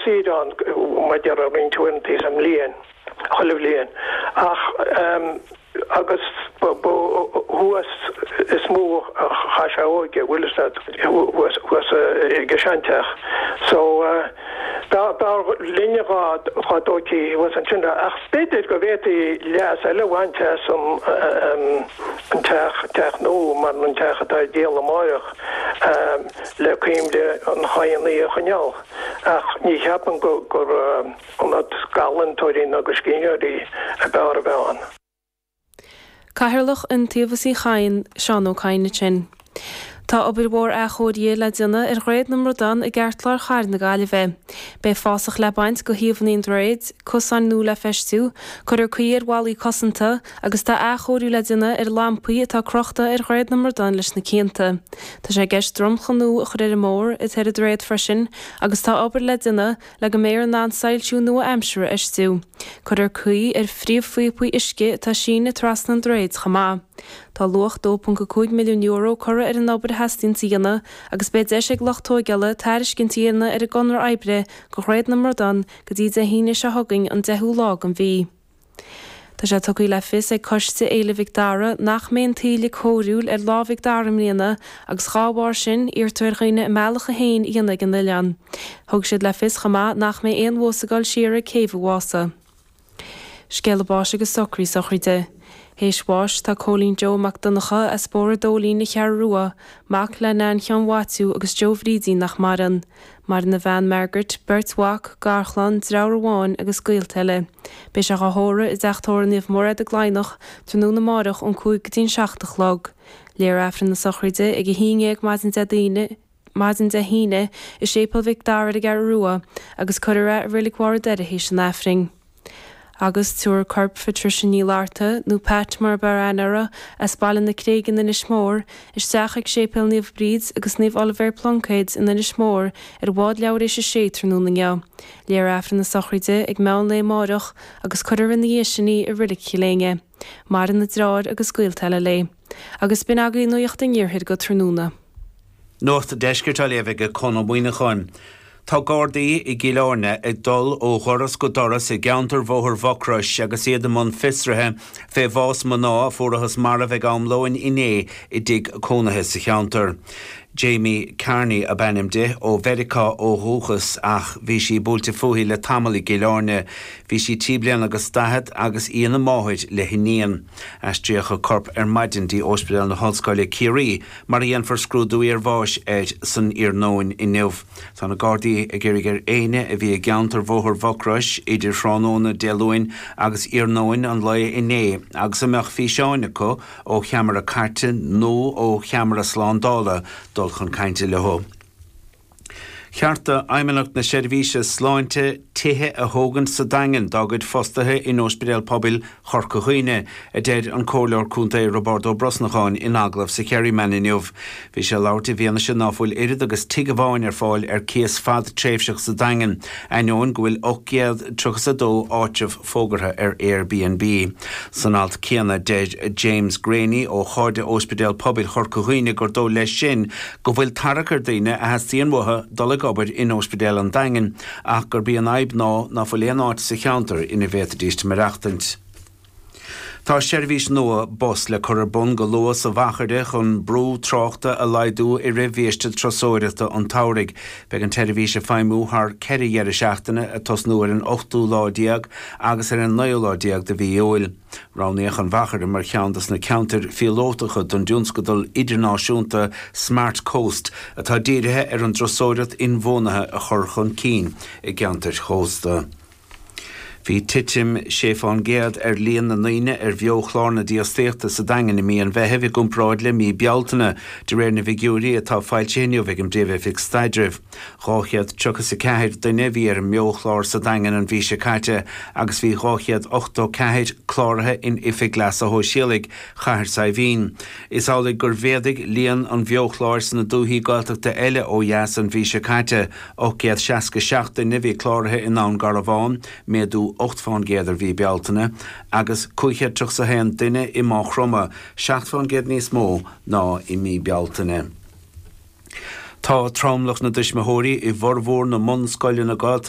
saoire ann, mar a déarfá, roinnt uaireanta sa mbliain, chuile bhliain. Ach, agus ba thuas is mó a chaith sé a óige, bhfuil fhios agat, thuas, thuas ag an seanteach. So, b'fhearr linne dhá dtógfaí thuas ansin é. Ach b'fhéidir go bhféadfaí leas eile a bhaint as an teach, teach nua, mar an teach atá ar díol amáireach, le cuimhne an Chadhanaigh a choinneáil. Ach ní cheapaim gur ionad d'ealaíontóirí ná do scríbhneoirí ab fhearr a bheith ann. Cathaoirleach Iontaobhas Uí Chadhain, Seán Ó Cadhain ansin. Tá obair mhór athchóirithe le déanamh ar Dhroichead na mBradán i gceartlár chathair na Gaillimhe. Beidh fásach le baint de thaobhanna an droichid, cosáin nua le feistiú, cuirfear caoi ar bhallaí cosanta agus tá athchóiriú le déanamh ar lampaí atá crochta ar Dhroichead na mBradán leis na cianta. Tá sé i gceist dromchla nua a chur ar an mbóthar atá ar an droichead freisin agus tá obair le déanamh le go mbeifear in ann soilsiú nua-aimseartha a fheistiú. Cuirfear caoi ar phríomhphíopaí uisce atá ag síneadh trasna an droichid chomh maith. Tá luach €2.5 milliún curtha ar an obair a theastaíonn a dhéanamh agus beidh deis ag lucht tóigeála tairiscint a dhéanamh ar an gconradh oibre do Dhroichead na mBradán go dtí Dé hAoine seo chugainn an 10ú lá den mhí. Tá sé tugtha le fios ag Coiste Fhéile Mhic Dara nach mbeidh an taoille cóiriúil ar Lá Mhic Dara i mbliana agus dhá bharr sin, iarrtar ar dhaoine a mbealach féin a dhéanamh ag an oileán. Thug siad le fios chomh maith nach mbeidh aon bhus ag dul siar ag Céibh an Mhása. Scéala báis agus socraí sochraide. Théis bháis tá Cóilín Joe Mac Donncha as Bóthar Dóilín, An Cheathrú Rua, mac le Nan Sheáin Mhaitiú agus Joe Bhrídín nach maireann. Maireann a bhean Margaret, beirt mhac, garchlann, deartháir amháin agus gaolta eile. Beidh sé dhá thórramh i dTeach Tórraimh Naomh Mairéad i gCladhnach tráthnóna amáireach ón 5 go dtí an 7 a chlog. Léifear Aifreann na sochraide ag 11 maidin Dé Daoine, maidin Dé hAoine i Séipéal Mhic Dara ar an gCeathrú Rua agus cuirfear é i Reilig Bharr an Doire théis an Aifrinn. Agus tabharfar corp Phatricia Ní Fhlatharta, nó Pat mar ab fhearr aithne uirthi, as Baile na Creige in Inis Mór, isteach ag Séipéal Naomh Bríd agus Naomh Oilibhéar Pluincéid in Inis Mór ar bhád leathuair théis a sé tráthnóna inniu. Léifear Aifreann na sochraide ag meán lae amáireach agus cuirfear ina dhiaidh sin í i Reilig Chill Éinne. Maireann a deartháir agus gaolta eile léi. Agus b'in agaibh Nuacht an Iarthair go tráthnóna. Nuacht an Deiscirt á léamh ag Conn Ó Muíneacháin. Tá Gardaí i gCill Airne ag dul ó dhoras go doras i gceantar Bhóthar Mhucrois agus iad i mbun fiosraithe fé bhás mná a fuarathas marbh ag am lóin inné i dtigh cónaithe sa cheantar. Jamie Carney ab ainm di, ó Mheiriceá ó dhúchas ach bhí sí buailte fúithi le tamall i gCill Airne. Bhí sí trí bliana agus daichead agus í ina máthair le hiníon. Aistríodh a corp ar maidin dtí Ospidéal na hOllscoile Ciarraí mar a dhéanfar scrúdú iarbháis air san iarnóin inniu. Tá na Gardaí ag iarraidh ar éinne a bhí i gceantar Bhóthar Mhucrois idir thráthnóna Dé Luain agus iarnóin an lae inné agus a mbeadh físeáin acu ó cheamara cairte nó ó cheamara slándála dul chun cainte leo. Cheart d'Fheidhmeannacht na Seirbhíse Sláinte tithe a thógaint sa Daingean dá gcuid fostaithe in Ospidéal Pobail Chorca Dhuibhne, a deir an Comhairleoir Contae Roibeárd Ó Brosnacháin in agallamh sa Kerryman inniu. Bhí sé ag labhairt i bhfianaise ná fuil oiread agus tigh amháin ar fáil ar cíos fad-tréimhseach sa Daingean, ainneoin go bhfuil 832 áitreabh fógartha ar Airbnb. San alt céanna, deir James Greaney ó Chairde Ospidéal Pobail Chorca Dhuibhne gur dóigh leis sin go bhfuil tarrac ar daoine a theastaíonn uathu dul ag obair in Ospidéal an Daingin ach gurb í an fhadhb ná ná fuil aon áit sa cheantar ina bhféadfaidíst maireachtaint. Tá seirbhís nua bus le cur ar bun go luath sa Mhachaire chun brú tráchta a laghdú i rith bhiaiste turasóireachta an tsamhraidh. Beidh an tseirbhís ag feidhmiú thar 4 dheireadh seachtaine, ag tosnú ar an ochtú lá déag agus ar an naoú lá déag de mhí Iúil. Roghnaíodh an Mhachaire mar cheann de na ceantair phíolótacha don dtionscadal idirnáisiúnta Smart Coast atá dírithe ar an dturasóireacht inbhuanaithe a chur chun cinn i gceantair chósta. Bhí titim 6 fán gcéad ar líon na ndaoine ar bheo-chlár na dífhostaíochta sa Daingean i mí an Mheithimh i gcomparáid le mí Bealtaine, de réir na bhfigiúirí atá foilsithe inniu ag an bPríomh-Oifig Staidrimh. 234 duine a bhí ar an mBeo-chlár sa Daingean an mhí seo caite agus bhí 284 cláraithe in Oifig Leasa Shóisialaigh Chathair Saidhbhín. Is amhlaidh gur mhéadaigh líon an bheo-chláir sna dúichí Gaeltachta eile ó dheas an mhí seo caite, 867 duine a bhí cláraithe i nDún Garbhán, méadú 8 fán gcéad ar mhí Bealtaine, agus 531 duine i Maigh Chromtha, 7 fán gcéad níos mó ná i mí Bealtaine. Tá tromlach na dtuismitheoirí i bhformhór na mbunscoileanna Gaeltachta.